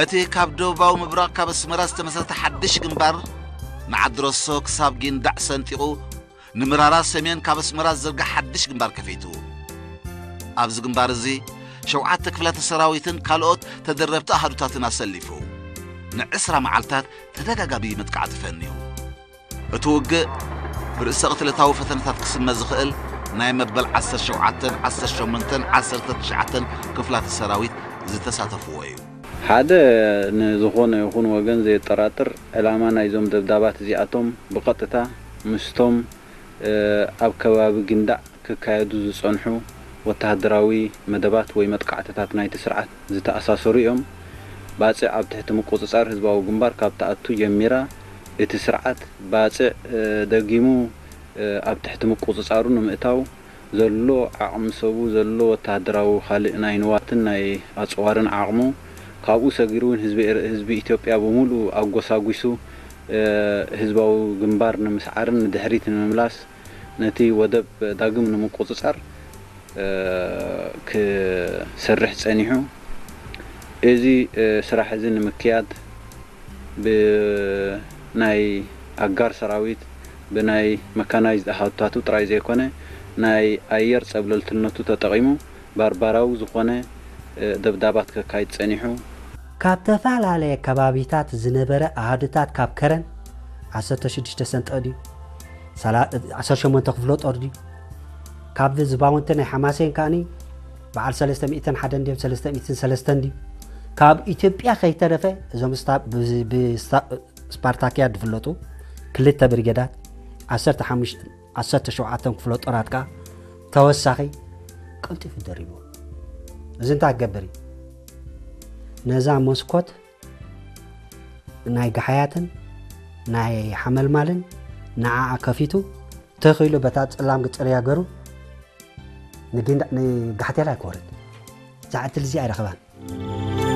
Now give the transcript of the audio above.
እቲ ካብ ደቡባዊ ምብራቕ ካብ ኣስመራ ዝተመስረተ ሓድሽ ግንባር ንዓድረሶ ክሳብ ጊንዳዕ ሰንጢቑ፣ ንምራራ ሰሜን ካብ ኣስመራ ዝዝርጋሕ ሓድሽ ግንባር ከፊቱ። ኣብዚ ግንባር እዚ ሸውዓተ ክፍላተ ሰራዊትን ካልኦት ተደረብቲ ኣሃዱታትን ኣሰሊፉ ንዕስራ መዓልታት ተደጋጋሚ መጥቃዕቲ ፈንዩ። እቲ ውግእ ብርእሰ ቅትለታዊ ፈተነታት ክስመ ዝኽእል ናይ መበል ዓሰርተ ሸውዓተን ዓሰርተ ሸሞንተን ዓሰርተ ትሽዓተን ክፍላተ ሰራዊት ዝተሳተፍዎ እዩ። ሓደ ንዝኾነ ይኹን ወገን ዘየጠራጥር ዕላማ ናይዞም ደብዳባት እዚኣቶም ብቐጥታ ምስቶም ኣብ ከባቢ ግንዳዕ ክካየዱ ዝጸንሑ ወተሃደራዊ መደባት ወይ መጥቃዕትታት ናይቲ ስርዓት ዝተኣሳሰሩ እዮም። ባጽዕ ኣብ ትሕቲ ምቁጽጻር ህዝባዊ ግንባር ካብ ትኣቱ ጀሚራ እቲ ስርዓት ባጽዕ ደጊሙ ኣብ ትሕቲ ምቁጽጻሩ ንምእታው ዘሎ ዓቕሚ ሰቡ፣ ዘሎ ወተሃደራዊ ካልእ ናይ ንዋትን ናይ ኣጽዋርን ዓቕሙ፣ ካብኡ ሰጊሩ እውን ህዝቢ ኤር-፣ ህዝቢ ኢትዮጵያ ብምሉኡ ኣጎሳጒሱ ህዝባዊ ግንባር ንምስዓርን ንድሕሪት ንምምላስ ነቲ ወደብ ዳግም ንምቁጽጻር ክሰርሕ ጸኒሑ። እዚ ስራሕ እዚ ንምክያድ ብናይ ኣጋር ሰራዊት፣ ብናይ መካናይዝድ ኣሃዱታቱ ጥራይ ዘይኮነ፣ ናይ ኣየር ጸብለልትነቱ ተጠቒሙ ባርባራዊ ዝኾነ ደብዳባት ከካይድ ጸኒሑ። ካብ ተፈላለየ ከባቢታት ዝነበረ ኣሃዱታት ካብ ከረን ዓሰርተ ሽዱሽተ ሰንጠቕ ድዩ? ሰላ-፣ ዓሰርተ ሸሞንተ ክፍለ ጦር ድዩ? ካብ ዝባውንቲ ናይ ሓማሴን ከኣኒ በዓል ሰለስተ ሚእትን ሓደን ድዮም ሰለስተ ሚእትን ሰለስተን ድዩ? ካብ ኢትዮጵያ ከይተረፈ እዞም ስታ-፣ ብ-፣ ብ-፣ ስታ-፣ ስፓርታክያት ዝፍለጡ ክልተ ብርጌዳት፣ ዓሰርተ ሓሙሽተ፣ ዓሰርተ ሸውዓተ ክፍለ ጦራት ከኣ ተወሳኺ ቀልጢፉ ደሪብዎ። እዚ እንታይ ክገብር እዩ? ነዛ መስኮት ናይ ጋሓያትን ናይ ሓመልማልን ንዓኣ ከፊቱ፣ ተኺሉ በታ ጽላም ግጽርያ ገሩ ንጊንዳ-፣ ንጋሕቴላይ ክወርድ። እዛ ዕድል እዚኣ ኣይረኸባን።